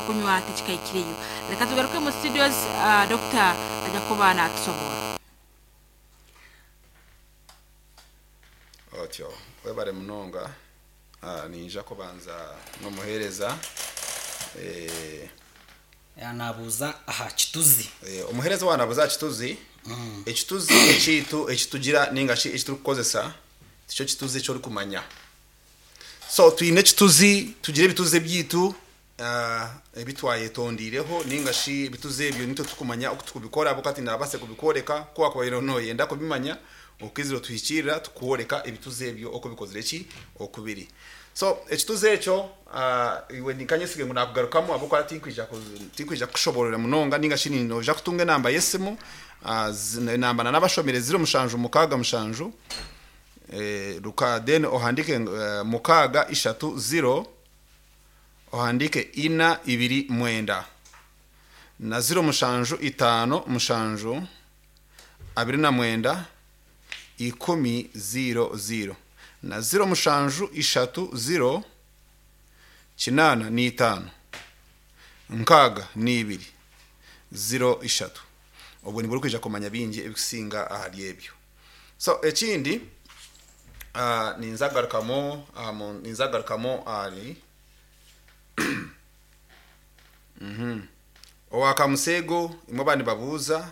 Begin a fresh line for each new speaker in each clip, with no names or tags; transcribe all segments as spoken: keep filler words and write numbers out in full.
Kunywa tikikaikireyo. Leka tugaruke mu studios, uh, Doctor ajja kuba natusobora.
Otyo webare munonga. Ah, ninja kubanza n'omuheereza eh,
Yanabuuza aha kituzi.
eh, omuheereza wanabuza kituzi. Ekituzi ekiitu ekitugira ninga shi ekiturikukozesa tikyo kituzi eki orikumanya. So twine ekituzi, tugira ebituzi ebyitu ah, ebi twayetondiireho ninga shi ebituzi ebyo nitwe tukumanya oku tukubikora ahabw'okuba tindabase kubikworeka. Ku wakubaire noyenda kubimanya, okizire otuhikiirira tukworeka ebituzi ebyo oku bikozire ki okubiri. So ekituzi ekyo, ah, iwe ninkanyesige ngu nakugarukamu ahabw'okuba tinkwija ku- tinkwija kukushoborera munonga ninga shi noija kutunga enamba y'esimu, ah, zi- enamba nanabashomire ziro mushanju mukaaga mushanju eh, ruka, then ohandike eh, mukaaga ishatu ziro, ohandike ina ibiri mwenda na ziro mushanju itaano mushanju abiri na mwenda ikumi ziro ziro na ziro mushanju ishatu ziro kinaana n'itaano nkaaga n'ibiri ziro ishatu. Obwo nibwo orikwija kumanya bingi ebikusinga ahari ebyo. So ekindi, uh, ninzagarukamu uh, mu- ninzagarukamu ahari owakamusego imwe abandi babuuza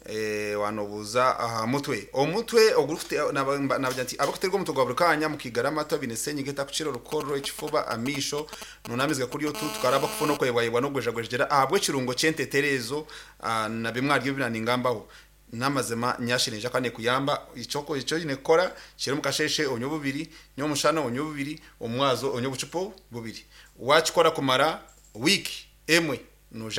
eh, wanobuuza aha mutwe, omutwe ogurikute nabagira nti abakuterwa omutwe gwa buri kanya mukigara amata bine senyiga etakukira, orukorro, ekifuba, amisho nunamiziga kuri otu tukaraba kufuna okwebwayebwa n'ogwejagwejegera ahabw'ekirungo ky'enteterezo, ah, na bimwe aryo binaningambaho n'amazima nyashirinja kandi kuyamba. Icyoko icyo nyine kukora kiri mukasheshe onywe bubiri, nyomushana onywe bubiri, omwazo onywe obucupa bubiri. Wakikora kumara wiki emwe nuja.